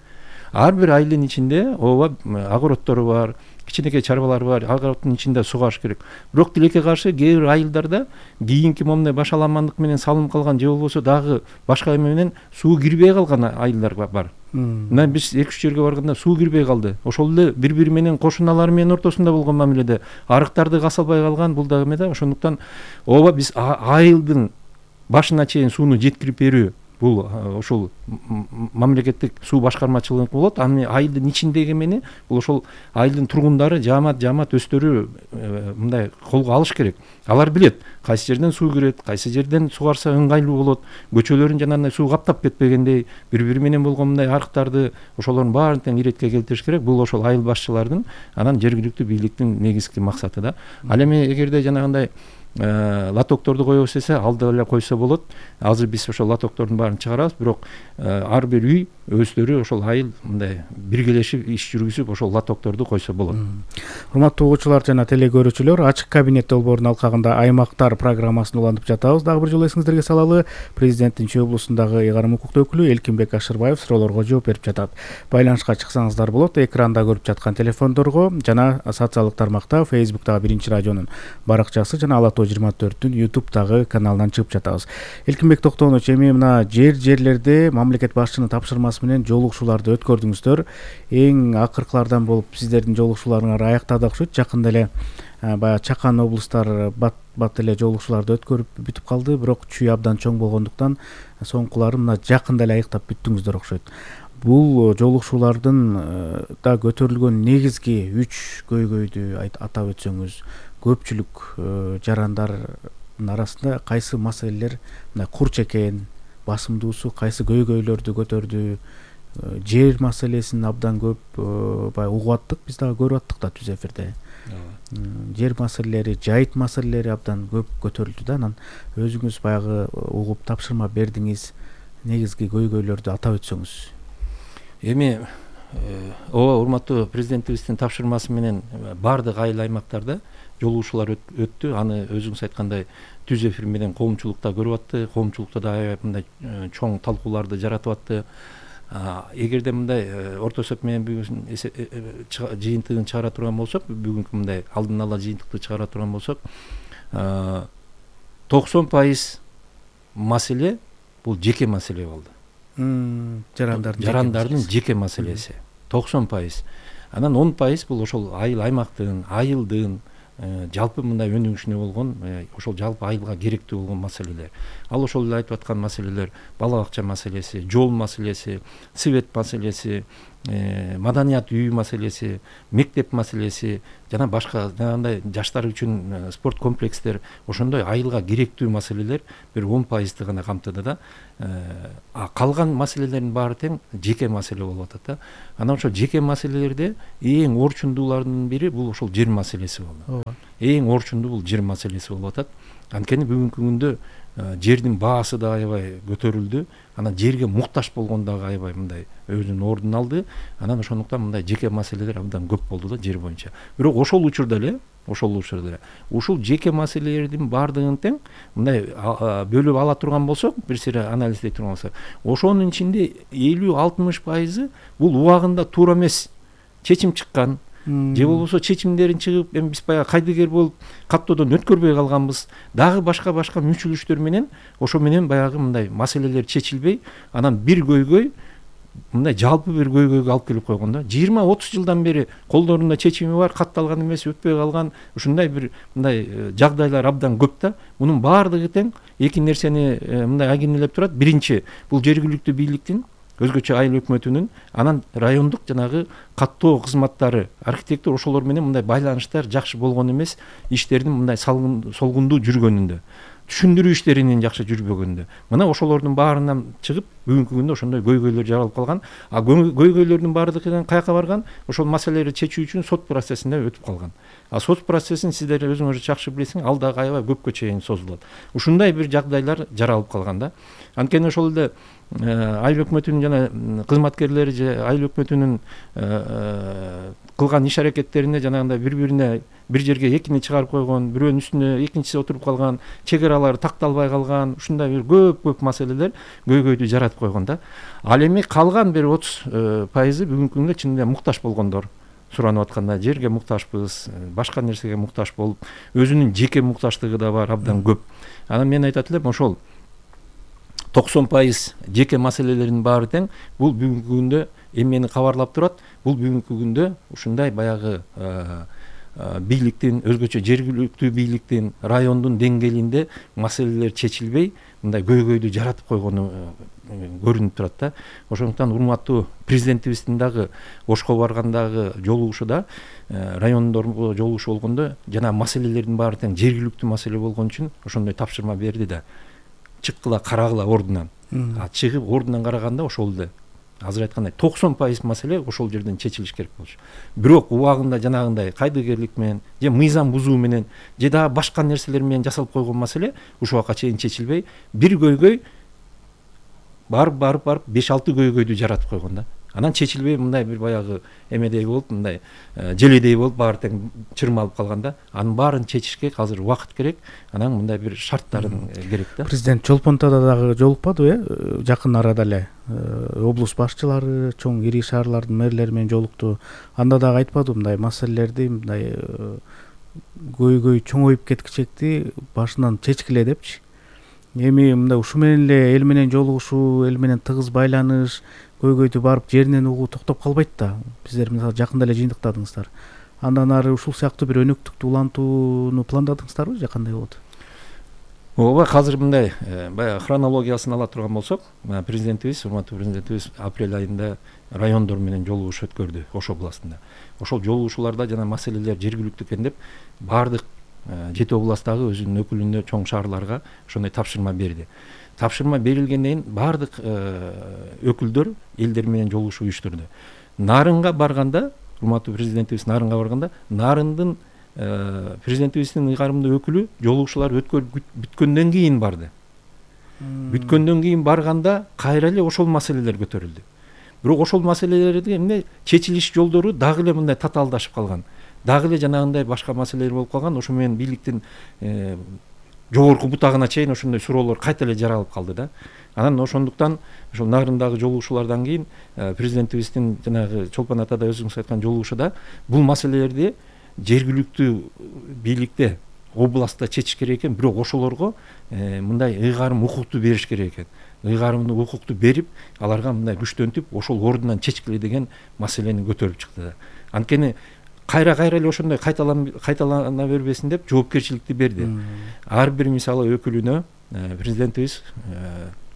Ар бир айылдын ичинде ооба огородтору бар, кичинекей чарбалар бар, огороддун ичинде сугаш керек. Бирок тилекке каршы кээ бир айылдарда кийинки момундай башаламандык менен салынып калган же болбосо дагы башка эме менен суу кирбей калган айылдар бар. Мына биз 2-3 жерге барганда суу кирбей калды. Ошол эле бири-бири менен кошуналары менен ортосунда болгон мамиледе арыктарды касалбай калган, бул дагы эме да. Ошондуктан ооба биз айылдын башына чейин сууну жеткирип берүү бул ошол мамлекеттик суу башкармачылыгы болот. Аны айылдын ичиндеги эмени бул ошол айылдын тургундары, жаамат өздөрү мындай колго алыш керек. Алар билет кайсы жерден суу кирет, кайсы жерден сугарса ыңгайлуу болот. Көчөлөрүн жанагындай суу каптап кетпегендей, бири-бири менен болгон мындай арыктарды ошолордун баарын тең иретке келтириш керек. Бул ошол айыл башчылардын, анан жергиликтүү бийликтин негизги максаты да. Ал эми эгерде жанагындай лотокторду коебуз десе, алда эле койсо болот. Азыр биз ошол лотоктордун баарын чыгарабыз, бирок ар бир үй өздөрү ошол айыл мындай биргелешип иш жүргүзүп ошол лотокторду койсо болот. Урматтуу угуучулар жана телекөрүүчүлөр, ачык кабинет долбоорунун алкагында аймактар программасын улантып жатабыз. Дагы бир жолу эсиңиздерге салалы, президенттин Чүй облусундагы ыйгарым укуктуу өкүлү Элкинбек Ашырбаев суроолорго жооп берип жатат. Байланышка чыксаңыздар болот, экранда көрүп жаткан телефондорго жана социалдык тармакта, Facebooktагы Биринчи радионун баракчасы жана Алато 24-түн YouTube'дагы каналынан чыгып жатабыз. Элкинбек Токтогонович, эми мына жерлерде мамлекет башчынын тапшырмасы менен жолугушууларды өткөрдүңүздөр. Эң акыркылардан болуп сиздердин жолугушууларыңар аяктады окшойт. Жакында эле баягы Чакан облустар бат эле жолугушууларды өткөрүп бүтүп калды, бирок Чүй абдан чоң болгондуктан соңкулары мына жакында эле аяктап бүттүңүздөр окшойт. Бул жолугушуулардын да көтөрүлгөн негизги 3 көйгөйдү атап өтсөңүз, көпчүлүк жарандардын арасында кайсы маселелер мына курч экен, басымдуусу кайсы көйгөйлөрдү көтөрдү? Жер маселесин абдан көп баягы угуп аттык, биз дагы көрүп аттык да түз эфирде. Жер маселелери, жайыт маселелери абдан көп көтөрүлдү да. Анан өзүңүз баягы угуп тапшырма бердиңиз, негизги көйгөйлөрдү атап өтсөңүз. Эми ооба, урматтуу президентибиздин тапшырмасы менен баардык айыл аймактарда жолугушуулар өттү. Аны өзүңүз айткандай түз эфир менен коомчулукта көрүп атты. Коомчулукта да аябай мындай чоң талкууларды жаратып атты. Эгерде мындай орто эсеп менен жыйынтыгын чыгара турган болсок, бүгүнкү мындай алдын ала жыйынтыкты чыгара турган болсок, 90% маселе бул жеке маселе болду. Жарандардын жеке маселеси 90%. Анан 10% бул ошол айыл аймактын, айылдын жалпы мындай өнүгүшүнө болгон ошол жалпы айылга керектүү болгон маселелер. Ал ошол эле айтып аткан маселелер, бала бакча маселеси, жол маселеси, свет маселеси, маданият үйү маселеси, мектеп маселеси жана башка жанагындай жаштар үчүн спорт комплекстер, ошондой айылга керектүү маселелер бир 10% гана камтыды да. Калган маселелердин баары тең жеке маселе болуп атат да. Анан ошол жеке маселелерде эң орчундуулардын бири бул ошол жер маселеси болду. Эң орчундуу бул жер маселеси болуп атат. Анткени бүгүнкү күндө жердин баасы да аябай көтөрүлдү. Анан жерге муктаж болгон дагы аябай мындай өзүнүн ордун алды. Анан ошондуктан мындай жеке маселелер абдан көп болду да жер боюнча. Бирок ошол учурда эле ушул жеке маселелердин баардыгын тең мындай бөлүп ала турган болсок, бир сыйра анализдей турган болсок, ошонун ичинде 50-60% бул убагында туура эмес чечим чыккан, же болбосо чечимдерин чыгып, эми биз баягы кайдыгер болуп каттоодон өткөрбөй калганбыз. Дагы башка мүчүлүштөр менен ошо менен баягы мындай маселелер чечилбей, анан бир көйгөй мындай жалпы бир көйгөйгө алып келип койгон да. 20-30 жылдан бери колдорунда чечими бар, катталган эмес, өтпөй калган ушундай бир мындай жагдайлар абдан көп да. Мунун баардыгы тең эки нерсени мындай агенелеп турат. Биринчи, бул жергиликтүү бийликтин, өзгөчө айыл өкмөтүнүн, анан райондук жанагы каттоо кызматтары, архитектор ошолор менен мындай байланыштар жакшы болгон эмес, иштердин мындай солгундуу жүргөнүндө, түшүндүрүү иштеринин жакшы жүрбөгөндө. Мына ошолордун баарынан чыгып, бүгүнкү күндө ошондой көйгөйлөр жаралып калган. Көйгөйлөрдүн баардыгы каяка барган? Ошол маселелерди чечүү үчүн сот процессине өтүп калган. Сот процессин сиздер өзүңөр жакшы билесиң, ал дагы аябай көпкө чейин созулат. Ушундай бир жагдайлар жаралып калган да. Анткени ошол эле айыл өкмөтүнүн жана кызматкерлери же айыл өкмөтүнүн кылган иш аракеттерине жанагындай бири-бирине бир жерге экини чыгарып койгон, бирөөнүн үстүнө экинчиси отуруп калган, чек аралары такталбай калган, ушундай бир көп маселелер көйгөйдү жаратып койгон да. Ал эми калган бир 30% бүгүнкү күндө чынында муктаж болгондор. Суранып атканда жерге муктажбыз, башка нерсеге муктаж болуп, өзүнүн жеке муктаждыгы да бар, абдан көп. Анан мен айтат элем, ошол 90% жеке маселелердин баары тең бул бүгүнкү күндө эмени кабарлап турат. Бул бүгүнкү күндө ушундай баягы бийликтин, өзгөчө жергиликтүү бийликтин, райондун деңгээлинде маселелер чечилбей, мындай көйгөйдү жаратып койгону көрүнүп турат да. Ошондуктан урматтуу президентибиздин дагы Ошко баргандагы жолугушуда, райондорго жолугушу болгондо жана маселелердин баары тең жергиликтүү маселе болгон үчүн ошондой тапшырма берди да. Чыккыла, карагыла ордунан. Чыгып ордунан караганда ошол эле азыр айткандай 90% маселе ошол жерден чечилиш керек болчу. Бирок убагында жанагындай кайдыгерлик менен же мыйзам бузуу менен же дагы башка нерселер менен жасалып койгон маселе ушул убакка чейин чечилбей, бир көйгөй барып 5-6 көйгөйдү жаратып койгон да. Анан чечилбей мындай бир баягы эмедей болуп, мындай желедей болуп баары тең чырмалып калганда, анын баарын чечишке азыр убакыт керек, анан мындай бир шарттарын керек да. Президент Чолпонтоодо дагы жолукпадыбы, жакын арада эле облус башчылары, чоң ири шаарлардын мэрлери менен жолукту. Анда дагы айтпадыбы мындай маселелерди, мындай көйгөй чоңоюп кеткичекти башынан чечкиле депчи. Эми мындай ушу менен эле эл менен жолугушуу, эл менен тыгыз байланыш, көйгөйдү барып жеринен угуу токтоп калбайт да. Биздер мисалы жакында эле жыйынтыктадыңыздар. Андан ары ушул сыяктуу бир өнөктүктү улантууну пландадыңыздарбы же кандай болот? Ооба, азыр мындай баягы хронологиясын ала турган болсок, президентибиз, урматтуу президентибиз апрель айында райондор менен жолугуш өткөрдү Ош областында. Ошол жолугушууларда жана маселелер жергиликтүү экен деп баардык 7 областтагы өзүнүн өкүлүнө чоң шаарларга ошондой тапшырма берди. Тапшырма берилгенден кийин баардык өкүлдөр элдер менен жолугуш уюштурду. Нарынга барганда, урматтуу президентибиз Нарынга барганда, Нарындын президентибиздин ыйгарымдуу өкүлү жолугушуулар бүткөндөн кийин барды. Бүткөндөн кийин барганда кайра эле ошол маселелер көтөрүлдү. Бирок ошол маселелердин чечилиш жолдору дагы эле мындай татаалдашып калган. Дагы эле жанагындай башка маселелер болуп калган. Ошо менен бийликтин жогорку бутагына чейин ошондой суроолор кайта эле жаралып калды да. Анан ошондуктан ошол Нарындагы жолугушуулардан кийин президентибиздин жанагы Чолпон атада өзүңүз айткан жолугушуда бул маселелерди жергиликтүү бийликте областта чечиш керек экен, бирок ошолорго мындай ыйгарым укукту бериш керек экен. Ыйгарымдуу укукту берип, аларга мындай күчтөнтүп, ошол ордунан чечкиле деген маселени көтөрүп чыкты да. Анткени кайра эле ошондой кайталана бербесин деп жоопкерчиликти берди. Ар бир мисалы өкүлүнө президентибиз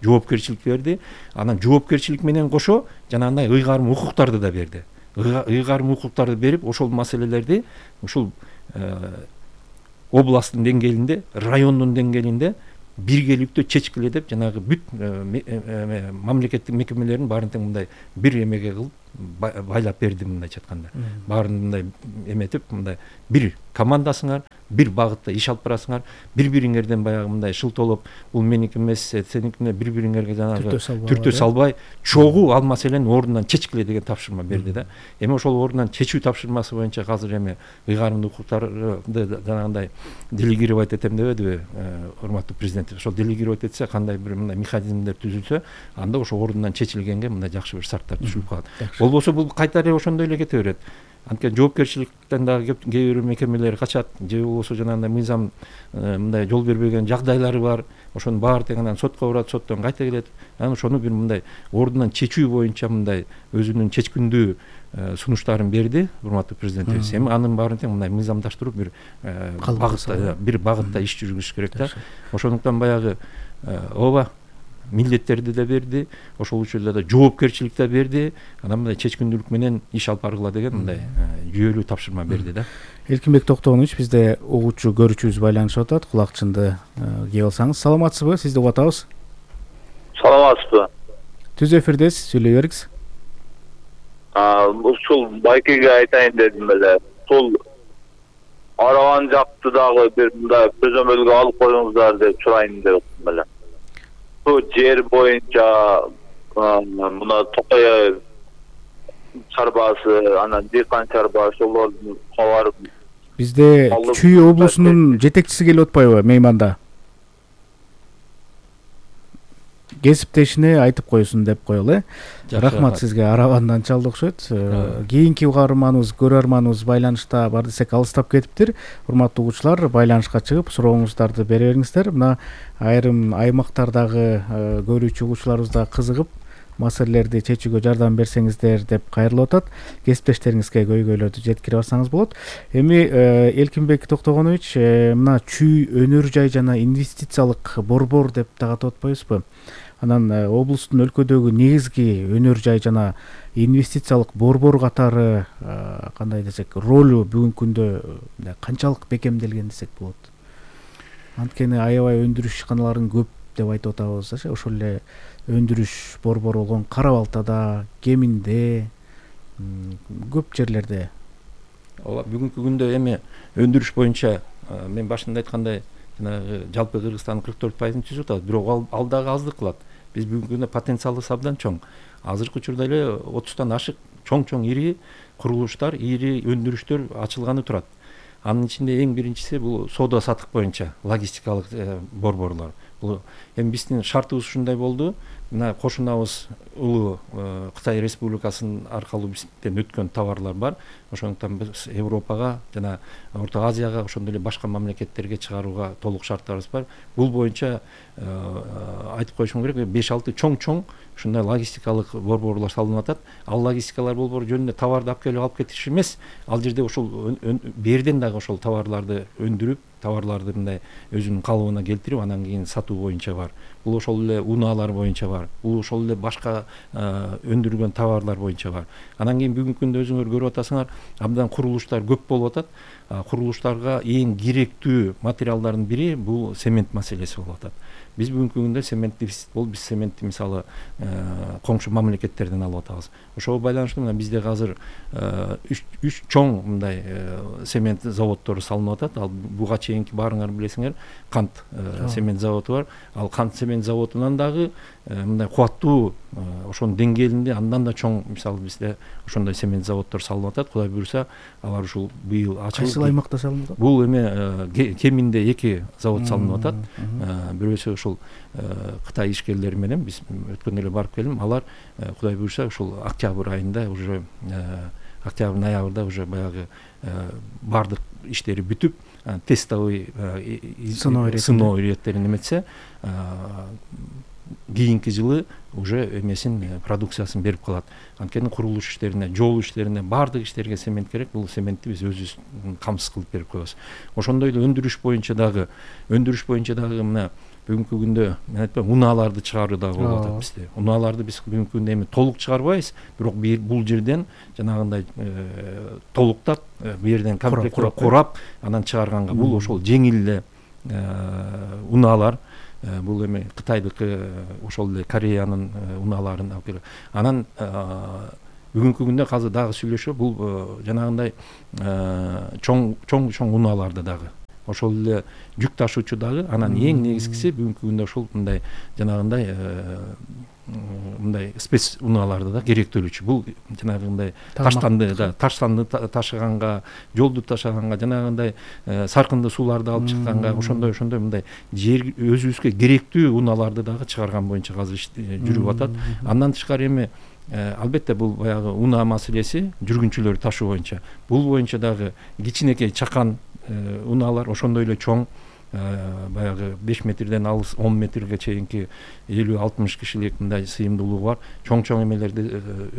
жоопкерчилик берди. Анан жоопкерчилик менен кошо жанагындай ыйгарым укуктарды да берди. Ыйгарым укуктарды берип, ошол маселелерди ушул областтын деңгээлинде, райондун деңгээлинде биргеликтүү чечкиле деп жанагы бүт мамлекеттик мекемелердин баарын тең мындай бир эмеге кылып байлап берди, мындайча айтканда. Баарын мындай эметип, мындай бир командасыңар, бир багытта иш алып барасыңар, бири-бириңерден баягы мындай шылтоолоп, бул меники эмес, сеникине бири-бириңерге жанагы түртө салбай, чогуу ал маселени ордунан чечкиле деген тапшырма берди да. Эми ошол ордунан чечүү тапшырмасы боюнча азыр эми ыйгарымдуу укуктарды жанагындай делегировать этем дебедиби, урматтуу президент? Ошол делегировать этсе, кандай бир мындай механизмдер түзүлсө, анда ошо ордунан чечилгенге мындай жакшы бир шарттар түзүлүп калат. Болбосо бул кайтара ошондой эле кете берет. Анткени жоопкерчиликтен дагы кээ бир мекемелер качат, же болбосо жанагындай мыйзам мындай жол бербеген жагдайлары бар. Ошонун баары тең анан сотко барат, соттон кайта келет. Анан ошону бир мындай ордунан чечүү боюнча мындай өзүнүн чечкиндүү сунуштарын берди урматтуу президентибиз. Эми анын баарын тең мындай мыйзамдаштырып бир багытта иш жүргүзүш керек да. Ошондуктан баягы ооба милдеттерди да берди, ошол учурда да жоопкерчилик да берди, анан мындай чечкиндүүлүк менен иш алып баргыла деген мындай жүйөлүү тапшырма берди да. Эркинбек Токтогонович, бизде угуучу көрүүчүбүз байланышып атат. Кулакчынды кийип алсаңыз. Саламатсызбы? Сизди угуп атабыз. Саламатсызбы? Түз эфирдесиз, сүйлөй бериңиз. Ушул байкеге айтайын дедим эле. Ушул Араван жакты дагы бир мындай көзөмөлгө алып коюңуздар деп сурайын деп атам эле. Бул жер боюнча мына Токой чарбасы, анан Дыйкан чарбасы, ошолордун кабары. Бизде Чүй облусунун жетекчиси келип атпайбы мейманда? Кесиптешине айтып коесун деп коелу, Рахмат сизге. Аравандан чалды окшойт. Кийинки угарманыбыз, көрөрманыбыз байланышта бар десек алыстап кетиптир. Урматтуу угуучулар, байланышка чыгып сурооңуздарды бере бериңиздер. Мына айрым аймактардагы көрүүчү угуучуларыбыз да кызыгып маселелерди чечүүгө жардам берсеңиздер деп кайрылып атат. Кесиптештериңизге көйгөйлөрдү жеткире барсаңыз болот. Эми Эркинбек Токтогонович, мына Чүй өнөр жай жана инвестициялык борбор деп дагы атап атпайбызбы? Анан облустун өлкөдөгү негизги өнөр жай жана инвестициялык борбор катары кандай десек ролу бүгүнкү күндө канчалык бекемделген десек болот? Анткени аябай өндүрүш ишканаларын көп деп айтып атабыз, ошол эле өндүрүш борбору болгон Кара Балтада, Кеминде, көп жерлерде. Ооба, бүгүнкү күндө эми өндүрүш боюнча мен башында айткандай жанагы жалпы Кыргызстандын 44%-ын түзүп атат, бирок ал дагы аздык кылат. Биз бүгүнкү күндө потенциалы абдан чоң. Азыркы учурда эле 30тан ашык чоң ири курулуштар, ири өндүрүштөр ачылганы турат. Анын ичинде эң биринчиси бул соода сатык боюнча логистикалык борборлор. Бул эми биздин шартыбыз ушундай болду. Мына кошунабыз улуу Кытай Республикасынын аркылуу бизден өткөн товарлар бар. Ошондуктан биз Европага жана Орто Азияга, ошондой эле башка мамлекеттерге чыгарууга толук шарттарыбыз бар. Бул боюнча айтып коюшум керек, 5-6 чоң ушундай логистикалык борборлор салынып атат. Ал логистикалар борбору жөнүндө товарды алып келип алып кетиш эмес, ал жерде ошол берден дагы ошол товарларды өндүрүп, товарларды мындай өзүнүн калыбына келтирип, анан кийин сатуу боюнча бар. Бул ошол эле унаалар боюнча бар. Бул ошол эле башка өндүрүлгөн товарлар боюнча бар. Анан кийин бүгүнкү күндө өзүңөр көрүп атасыңар, абдан курулуштар көп болуп атат. Курулуштарга эң керектүү материалдардын бири бул цемент маселеси болуп атат. Биз бүгүнкү күндө цемент дефицит болуп, биз цементти мисалы коңшу мамлекеттерден алып атабыз. Ошого байланыштуу мына бизде азыр 3 чоң мындай цемент заводдору салынып атат. Ал буга чейинки баарыңар билесиңер, кант цемент заводу бар. Ал кант цемент заводунан дагы мындай кубаттуу ошонун деңгээлинде андан да чоң мисалы бизде ошондой цемент заводдор салынып атат. Кудай буйруса, алар ушул быйыл ачылып. Кайсы аймакта салынып атат? Бул эми Кеминде 2 завод салынып атат. Бирөөсү ушул Кытай ишкерлери менен биз өткөндө эле барып келдим. Алар Кудай буйруса ушул октябрь айында уже октябрь ноябрда уже баягы баардык иштери бүтүп тестовый сыноо иреттерин эметсе, кийинки жылы уже эмесин продукциясын берип калат. Анткени курулуш иштерине, жол иштерине, баардык иштерге цемент керек. Бул цементти биз өзүбүз камсыз кылып берип коебуз. Ошондой эле өндүрүш боюнча дагы мына бүгүнкү күндө мен айтпайм, унааларды чыгаруу дагы болуп атат бизде. Унааларды биз бүгүнкү күндө эми толук чыгарбайбыз, бирок бул жерден жанагындай толуктап, бу жерден комплект курап, анан чыгарганга бул ошол жеңил эле унаалар. Бул эми Кытайдыкы, ошол эле Кореянын унааларын алып келип. Анан бүгүнкү күндө азыр дагы сүйлөшүп, бул жанагындай чоң унааларды дагы, ошол эле жүк ташуучу дагы, анан эң негизгиси бүгүнкү күндө ошол мындай жанагындай мындай спец унааларды да керектөлүүчү. Бул жанагындай таштанды ташыганга, жолду ташыганга, жанагындай саркынды сууларды алып чыкканга, ошондой мындай жер өзүбүзгө керектүү унааларды дагы чыгарган боюнча азыр жүрүп атат. Андан тышкары эми албетте бул баягы унаа маселеси жүргүнчүлөр ташуу боюнча. Бул боюнча дагы кичинекей чакан унаалар, ошондой эле чоң баягы 5 метрден алыс 10 метрге чейинки 50-60 кишилик мындай сыйымдуулугу бар чоң эмелерди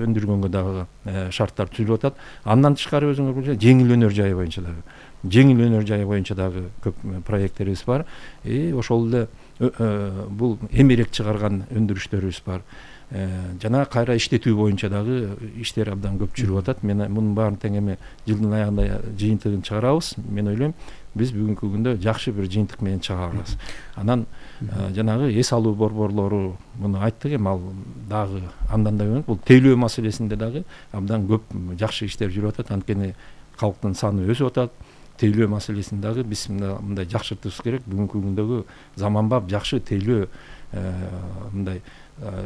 өндүргөнгө дагы шарттар түзүлүп атат. Андан тышкары өзүңөр билесиз, жеңил өнөр жайы боюнча дагы көп проекттерибиз бар. Ошол эле бул эмерек чыгарган өндүрүштөрүбүз бар. Жана кайра иштетүү боюнча дагы иштер абдан көп жүрүп атат. Мен мунун баарын тең эми жылдын аягында жыйынтыгын чыгарабыз. Мен ойлойм, биз бүгүнкү күндө жакшы бир жыйынтык менен чыгарабыз. Анан жанагы эс алуу борборлору муну айттык, эми ал дагы андан да бул тейлөө маселесинде дагы абдан көп жакшы иштер жүрүп атат. Анткени калктын саны өсүп атат. Тейлөө маселесин дагы биз мындай жакшыртышыбыз керек. Бүгүнкү күндөгү заманбап жакшы тейлөө мындай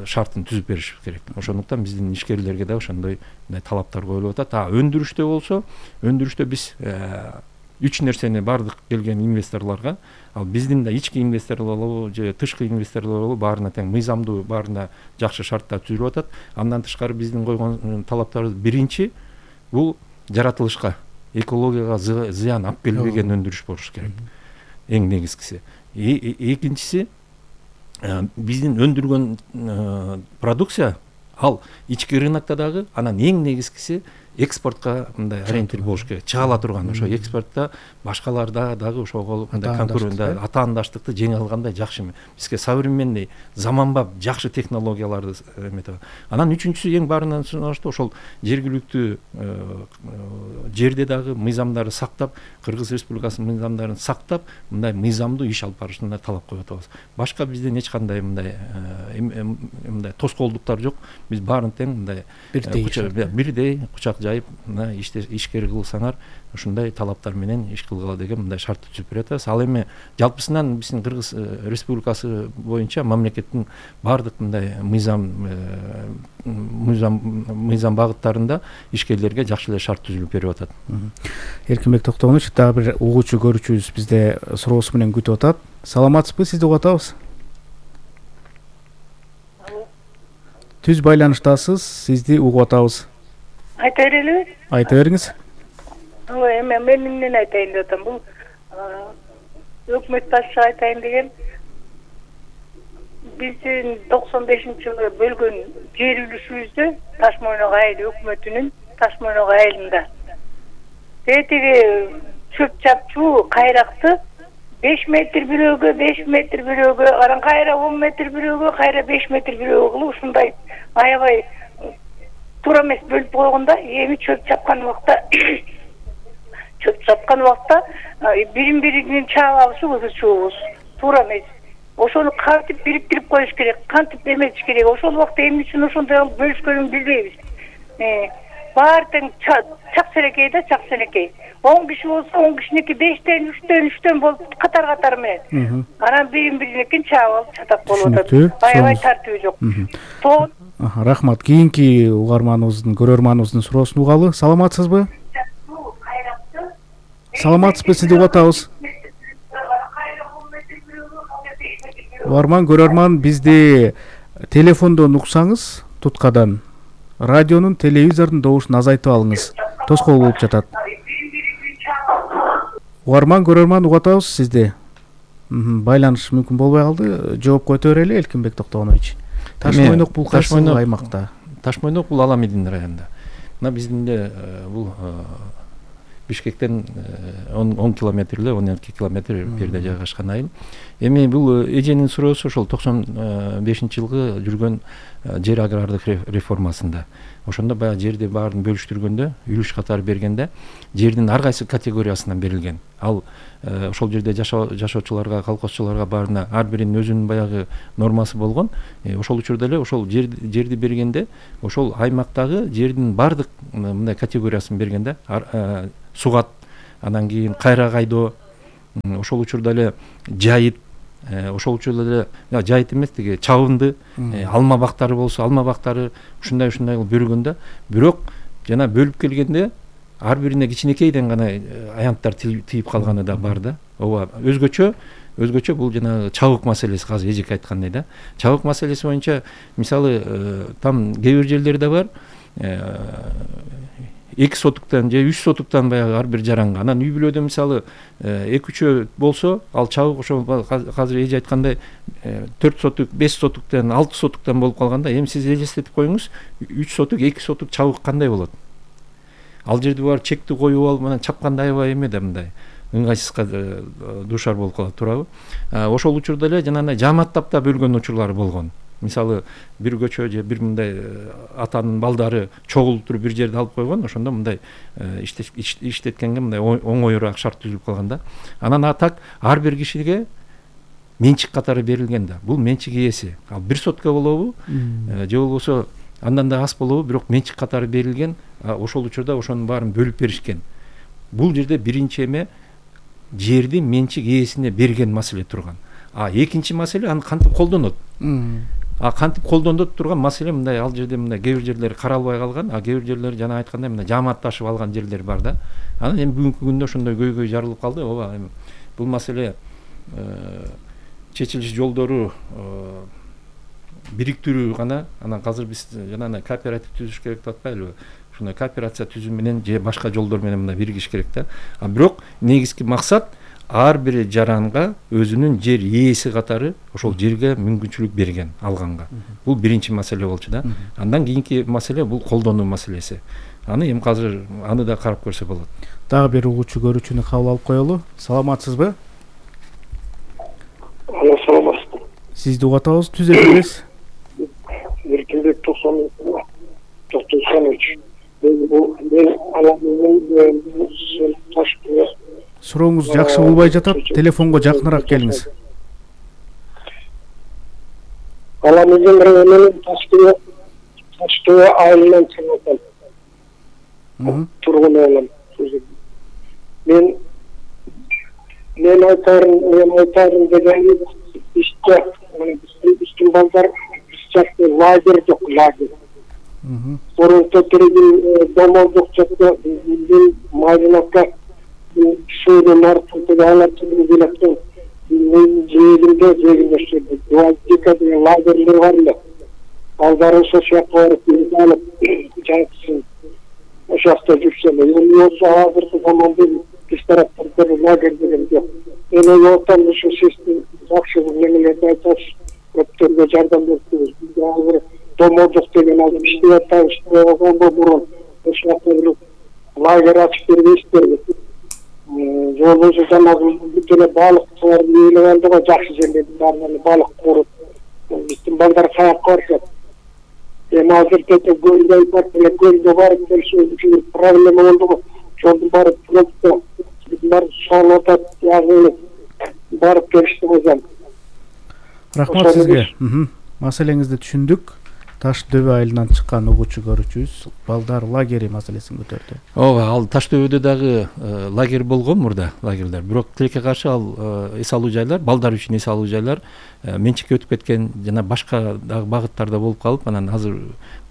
шартын түзүп бериш керек. Ошондуктан биздин ишкерлерге да ошондой талаптар коюлуп атат. Өндүрүштө болсо, өндүрүштө биз 3 нерсени бардык келген инвесторлорго, ал биздин да ички инвесторлор болобу же тышкы инвесторлор болобу, баарына тең мыйзамдуу, баарына жакшы шарттар түзүлүп атат. Андан тышкары биздин койгон талаптарыбыз биринчи бул жаратылышка, экологияга зыян алып келбеген өндүрүш болуш керек. Эң негизгиси. Экинчиси, биздин өндүргөн продукция ал ички рынокто дагы, анан эң негизгиси экспортко мындай ориентир болуш керек, чыга ала турган. Ошо экспортто башкаларда дагы ошого мындай конкуренттик атаандаштыкты жеңе алгандай жакшы. Бизге современный, заманбап жакшы технологияларды эметип. Анан үчүнчүсү эң баарынан соночто ошол жергиликтүү жерде дагы мыйзамдарды сактап, Кыргыз Республикасынын мыйзамдарын сактап, мындай мыйзамдуу иш алып барышына талап коюп атабыз. Башка бизден эч кандай мындай тоскоолдуктар жок. Биз баарын тең мындай бирдей кучак жайып, ишкер кылсаңар, ушундай талаптар менен иш кылгыла деген мындай шартты түзүп берип атабыз. Ал эми жалпысынан биздин Кыргыз Республикасы боюнча мамлекеттин баардык мындай мыйзам багыттарында ишкерлерге жакшы эле шарт түзүлүп берип атат. Эркинбек Токтогонович, дагы бир угуучу көрүүчүбүз бизде суроосу менен күтүп атат. Саламатсызбы? Сизди угуп атабыз. Түз байланыштасыз, сизди угуп атабыз. Айта берелиби? Айта бериңиз. Эми мен эмнени айтайын деп атам. Бул өкмөт башчыга айтайын деген, биздин 95-жылы бөлгөн жер үлүшүбүздө Таш-Мойнок айыл өкмөтүнүн Таш-Мойнок айылында тетиги чөп чапчуу кайракты 5 метр бирөөгө, 5 метр бирөөгө, анан кайра 10 метр бирөөгө, кайра 5 метр бирөөгө кылып ушундай аябай туура эмес бөлүп койгондо, эми чөп чапкан убакта бирин-биринин чаабабыз ызычуубуз туура эмес. Ошону кантип бириктирип коюш керек, кантип эметиш керек. Ошол убакта эмне үчүн ошондой бөлүшкөнүн билбейбиз. Баары тең чак селекей да, чак селекей. 10 киши болсо 10 кишиники 5тен, 3төн болуп катар менен. Анан бирин-биринекин чаап алып чатак болуп атат. Аябай тартыбы жок. Рахмат. Кийинки угарманыбыздын, көрөрманыбыздын суроосун угалы. Саламатсызбы? Саламатсызбы? Сизди угуп атабыз. Угарман, көрөрман, бизди телефондон уксаңыз, туткадан радионун, телевизордун добушун азайтып алыңыз. тоскоол болуп жатат. Угарман көрөрман угуп атабыз сизди. Байланыш мүмкүн болбой калды. Жоопко өтө берели Элкинбек Токтогонович. Таш-Мойнок бул кайсы аймакта? Таш-Мойнок бул Аламедин районунда. Мына биздин бул Бишкектен 10 километр эле 12 километр берде жайгашкан айыл. Эми бул эженин суроосу ошол 95-жылгы жүргөн жер агрардык реформасында. Ошондо баягы жерди баарын бөлүштүргөндө, үлүш катары бергенде жердин ар кайсы категориясынан берилген. Ал ошол жерде жашоочуларга, колхозчуларга баарына ар биринин өзүнүн баягы нормасы болгон. Ошол учурда эле ошол жерди бергенде, ошол аймактагы жердин баардык мындай категориясын бергенде, сугат, анан кийин кайра кайдоо, ошол учурда эле жайыт, ошол учурда эле жайыт эмес тиги чабынды, алма бактары болсо алма бактары ушундай кылып бөлгөндө, бирок жана бөлүп келгенде ар бирине кичинекейден гана аянттар тийип калганы да бар да. Ооба өзгөчө бул жанагы чабык маселеси, азыр эжеке айткандай да. Чабык маселеси боюнча мисалы там кээ бир жерлерде бар 2 сотуктан же 3 сотуктан баягы ар бир жаранга. Анан үй бүлөдө мисалы 2-3 болсо, ал чабык ошо азыр эже айткандай 4 сотук, 5 сотуктан, 6 сотуктан болуп калганда, эми сиз элестетип коюңуз, 3 сотук, 2 сотук чабык кандай болот? Ал жерде бар чекти коюп алып, анан чапканда аябай эме да мындай ыңгайсызга дуушар болуп калат, туурабы? Ошол учурда эле жанагындай жамааттап да бөлгөн учурлары болгон. Мисалы бир көчө же бир мындай атанын балдары чогулуп туруп бир жерде алып койгон, ошондо мындай иштеткенге мындай оңоюраак шарт түзүлүп калган да. Анан атак ар бир кишиге менчик катары берилген да. Бул менчик ээси. Ал 1 сотка болобу, же болбосо андан да аз болобу, бирок менчик катары берилген. Ошол учурда ошонун баарын бөлүп беришкен. Бул жерде биринчи эме жерди менчик ээсине берген маселе турган. Экинчи маселе аны кантип колдонот? Кантип колдонот турган маселе мындай, ал жерде мындай кээ бир жерлер каралбай калган, кээ бир жерлер жана айткандай мындай жамаатташып алган жерлер бар да. Анан эми бүгүнкү күндө ошондой көйгөй жарылып калды. Ооба, эми бул маселе чечилиш жолдору бириктирүү гана. Анан азыр биз жанагындай кооператив түзүш керек деп атпайлыбы? Ушундай кооперация түзүү менен же башка жолдор менен мындай биригиш керек да. Бирок негизги максат ар бир жаранга өзүнүн жер ээси катары ошол жерге мүмкүнчүлүк берген, алганга. Бул биринчи маселе болчу да. Андан кийинки маселе бул колдонуу маселеси. Аны эми азыр аны да карап көрсө болот. Дагы бир угуучу көрүүчүнү кабыл алып коелу. Саламатсызбы? Саламатсызбы. Сизди угуп атабыз, түз эфирдесиз. Эркинбек Токтогонович. Мен Аламедин Таш-Мойнок. Сурооңуз жакшы болбой жатат. Телефонго жакыныраак келиңиз. Аламедин районунун Таш-Мойнок айылынан чыгып тургун болом. Мен айтарым деген иште биздин балдар бизчакты лагерь жок, лагерь. Торонто тирген домолдук жакта биздин Майдановка шөйдө мартында алатып келатты. Жегинде 2 деген лагерлер бар эле. Балдары ошо жакка барып алып жайсың. Ошо жакта жүрсөм, эми ошо азыркы заманда биз тараптарда лагерь деген жок. Эми отан ошо сиздин жакшы немелерди айтасыз, көптөргө жардам бердиңиз. Биз азыр домолдук деген алып иштеп атабыз, болгондо бурун ошо жакта лагерь ачып бербейсиздерби? Жолбосо жанагы бүт эле балыктар эле болду го, жакшы жерлердин баарынан балык кооруп, биздин балдар каякка барышат. Эми азыр кете көлдө барып келиши үчүн проблема болду го. Жолдун баары просто биздин баары соолуп атат, ягы барып келишти го. Рахмат сизге. Маселеңизди түшүндүк. Таш дөбө айылынан чыккан угуучу көрүүчүбүз балдар лагери маселесин көтөрдү. Ооба, ал Таш дөбөдө дагы лагерь болгон мурда, лагерлер. Бирок тилекке каршы ал эс алуу жайлар, балдар үчүн эс алуу жайлар менчикке өтүп кеткен жана башка дагы багыттарда болуп калып, анан азыр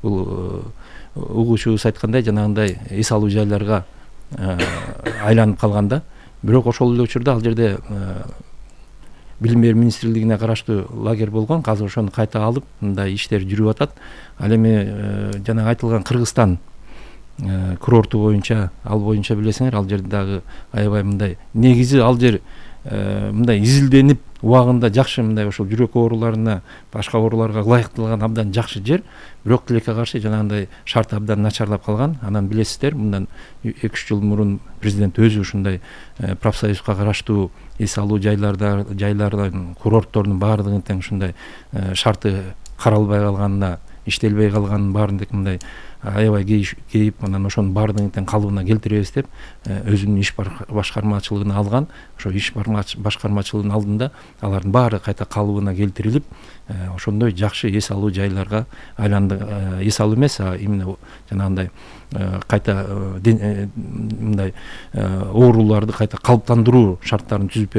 бул угуучубуз айткандай жанагындай эс алуу жайларга айланып калганда. Бирок ошол эле учурда ал жерде Билим берүү министрлигине караштуу лагерь болгон. Азыр ошону кайта алып, мындай иштер жүрүп атат. Ал эми жана айтылган Кыргызстан курорту боюнча, ал боюнча билесиңер, ал жерде дагы аябай мындай негизи ал жер мындай изилденип убагында жакшы мындай ошол жүрөк ооруларына, башка ооруларга ылайыкталган абдан жакшы жер, бирок тилекке каршы жанагындай шарты абдан начарлап калган. Анан билесиздер, мындан 2-3 жыл мурун президент өзү ушундай профсоюзга караштуу эс алуу жайлардын курорттордун баардыгын тең ушундай шарты каралбай калганына, иштелбей калганын баарын мындай аябай кейип, анан ошонун баардыгын тең калыбына келтиребиз деп өзүнүн иш башкармачылыгына алган. Ошо иш башкармачылыгынын алдында алардын баары кайта калыбына келтирилип, ошондой жакшы эс алуу жайларга айланды. Эс алуу эмес, а именно жанагындай кайта мындай ооруларды кайта калыптандыруу шарттарын түзүп берген.